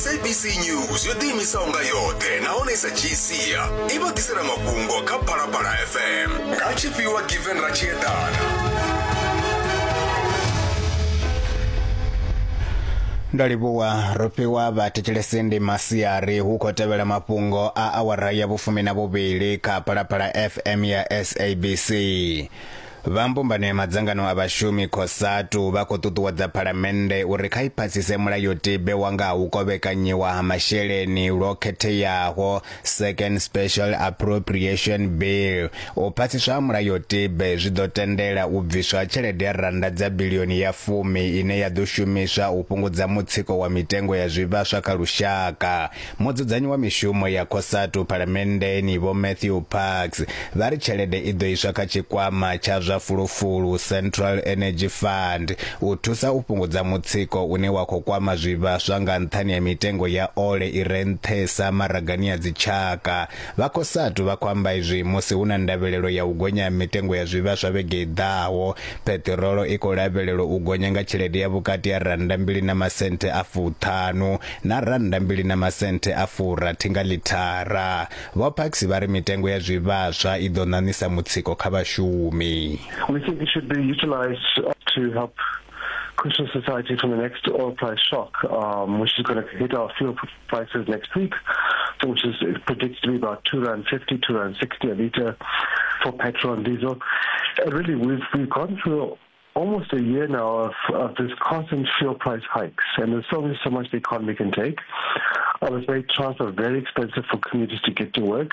SABC News yo ḓiimisaho nga yoṱhe nahone i sa dzhii sia i vha ḓisela mafhungo kha Phalaphala FM nga tshifhiwa Given Ratshiedana. Ndo livhuwa Rofhiwa vhathetshelesi ndi masiari hu khou tevhela mafhungo a awara ya vhufumi na vhuvhili kha Phalaphala FM ya SABC. Vha mbumbano ya madzangano a vhashumi Cosatu vha khou ṱuṱuwedza phalamennde uri kha i phasise mulayotibe wa nga ha u kovhekanyiwa ha masheleni lwo khetheaho Second Special Appropriation Bill. U phasiswa ha mulayotibe zwi ḓo tendela u bviswa ha tshelede ya rannda dza biḽioni ya fumi ine ya ḓo shumiswa u fhungudza mutsiko wa mitengo ya zwivhaswa kha lushaka. Mudzudzanyi wa mishumo ya Cosatu Phalamenndeni Vho Matthew Parks vha ri tshelede i ḓo iswa kha tshikwama tsha zwa fulufulu, Central Energy Fund, u thusa u fhungudza mutsiko une wa khou kwama zwivhaswa nga nṱhani ha mitengo ya ole i re nṱhesa maragani a dzitshaka. Vha Cosatu vha khou amba izwi musi hu na ndavhelelo ya u gonya ha mitengo ya zwivhaswa vhege i ḓaho. Peṱirolo i khou lavhelelwa u gonya nga tshelede ya vhukati ha rannda mbili na masenthe a fuṱhanu na rannda mbili na masenthe a furathi nga ḽithara. Vho Parks vha ri mitengo ya zwivhaswa i ḓo ṋaṋisa mutsiko kha vhashumi. We think it should be utilized to help cushion society from the next oil price shock, um, which is going to hit our fuel prices next week, which is predicted to be about 2 rand 50, 2 rand 60 a litre for petrol and diesel. And really, we've, we've gone through almost a year now of, of this constant fuel price hikes, and there's only so much the economy can take. Obviously, transport very expensive for commuters to get to work.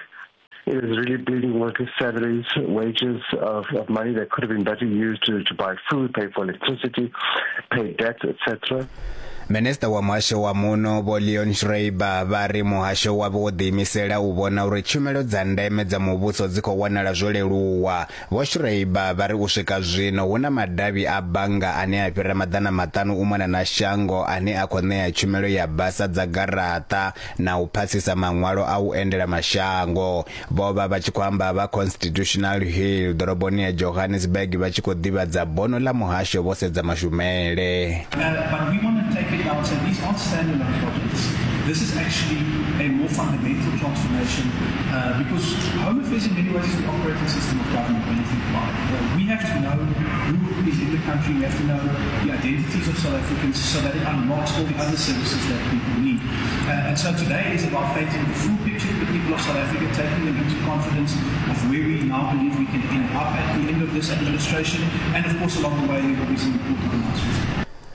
It is really bleeding workers' salaries, wages of, of money that could have been better used to, to buy food, pay for electricity, pay debt, etc. Minisiṱa wa muhasho wa muno Vho Leon Schreiber vha ri muhasho wavho wo ḓiimisela u vhona uri tshumelo dza ndeme dza muvhuso dzi khou wanala zwo leluwa. Vho Schreiber vha ri u swika zwino hu na madavhi a bannga ane a fhira maḓana maṱanu u mona na shango ane a khou ṋea tshumelo ya basa dza garaṱa na u phasisa maṅwalo a u endela mashango. Vho vha vha tshi khou amba vha Constitutional Hill ḓoroboni ya Johannesburg vha tshi khou ḓivhadza bono ḽa muhasho vho sedza mashumele. But we want to take it now and say these aren't standalone projects. This is actually a more fundamental transformation uh, because Home Affairs in many ways is the operating system of government when you think about it. Uh, we have to know who is in the country, we have to know the identities of South Africans so that it unlocks all the other services that people need. Uh, and so today is about painting the full picture to the people of South Africa, taking them into confidence of where we now believe we can end up at the end of this administration. And of course, along the way, there will be some important announcements.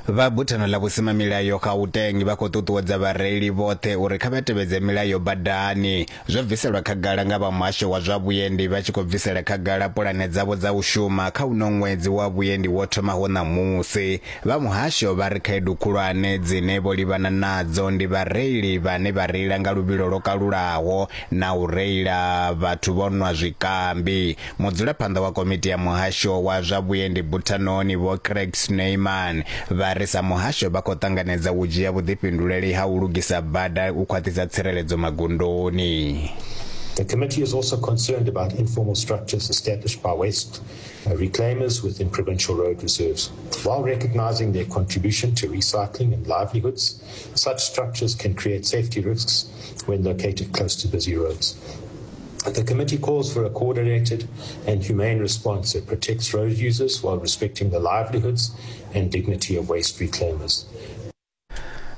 Vha buthano ḽa vhusimamilayo Gauteng vha khou ṱuṱuwedza vhareili vhoṱhe uri kha vha tevhedze milayo badani. Zwo bviselwa khagala nga vha muhasho wa zwa vhuendi vha tshi khou bvisela khagala pulane dzavho dza u shuma kha uno ṅwedzi wa vhuendi wo thomaho ṋamusi. Vha muhasho vha ri khaedu khulwane dzine vho livhana nadzo ndi vhareili vhane vha reila nga luvhilo lwo kalulaho na u reila vhathu vho nwa zwikambi. Mudzulaphanḓa wa komiti ya muhasho wa zwa vhuendi buthanoni Vho Craig Snyman vha ri sa muhasho vha khou ṱanganedza u dzhia vhuḓifhinduleli ha u lugisa bada u khwaṱhisa tsireledzo magondoni. The committee is also concerned about informal structures established by waste uh, reclaimers within provincial road reserves. While recognizing their contribution to recycling and livelihoods, such structures can create safety risks when located close to busy roads. The committee calls for a coordinated and humane response that protects road users while respecting the livelihoods and dignity of waste reclaimers.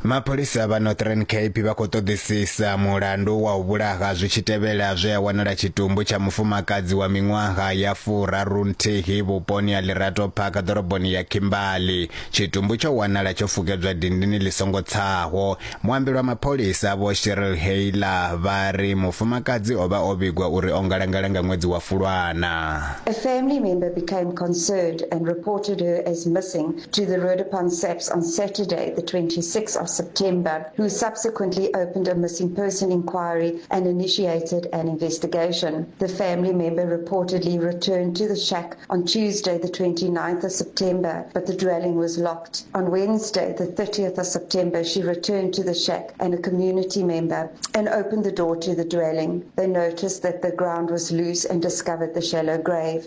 Mapholisa vha Northern Cape vha khou ṱoḓisisa mulandu wa u vhulaha zwi tshi tevhela zwe a wanala tshitumbu tsha mufumakadzi wa miṅwaha ya furarunthihi vhuponi ha Lerato Park ḓoroboni ya Kimberley. Tshitumbu tsho wanala tsho fukedzwa dindini ḽi songo tsaho. Muambeli wa mapholisa Vho Cheryl Hayler vha ri mufumakadzi o vha o vhigwa uri o ngalangala nga ṅwedzi wa Fulwana. A family member became concerned and reported her as missing to the Roodepan SAPS on Saturday, the 26th of September, who subsequently opened a missing person inquiry and initiated an investigation. The family member reportedly returned to the shack on Tuesday, the 29th of September, but the dwelling was locked. On Wednesday, the 30th of September, she returned to the shack and a community member and opened the door to the dwelling. They noticed that the ground was loose and discovered the shallow grave.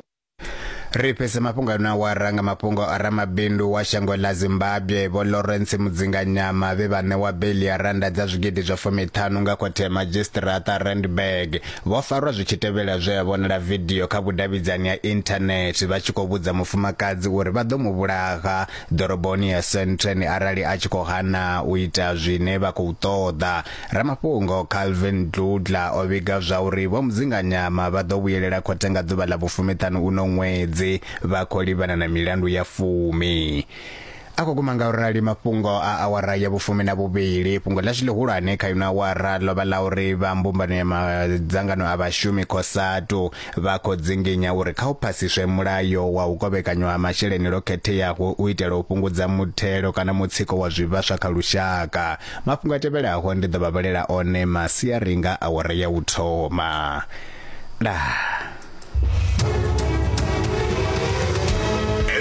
Ri fhise mafhungo ano awara nga mafhungo a ramabindu wa shango ḽa Zimbabwe Vho Lawrence Mudzinganyama vhe vha ṋewa beiḽi ya rannda dza zwigidi zwa fumiṱhanu nga khothe ya madzhisiṱiraṱa Randburg. Vho farwa zwi tshi tevhela zwe a vhonala vidio kha vhudavhidzani ha inthanethe vha tshi khou vhudza mufumakadzi uri vha ḓo mu vhulaha ḓoroboni ya Sandton arali a tshi khou hana u ita zwine vha khou ṱoḓa. Ramafhungo Calvin Dludla o vhiga zwauri Vho Mudzinganyama vha ḓo vhuyelela khothe nga ḓuvha ḽa vhufumiṱhanu uno ṅwedzi vha khou livhana na milandu ya fumi. A khou guma nga u rali mafhungo a awara ya vhufumi na vhuvhili. Fhungo ḽashu ḽihulwane kha ino awara ḽo vha ḽa uri vha mbumbano ya madzangano a vhashumi COSATU vha khou dzinginya uri kha u phasiswe mulayo wa u kovhekanywa ha masheleni lwo khetheaho u itela u fhungudza muthelo kana mutsiko wa zwivhaswa kha lushaka. Mafhungo a tevhelaho ndi ḓo vha vhalela one masiari nga awara ya u thoma. Ndaa.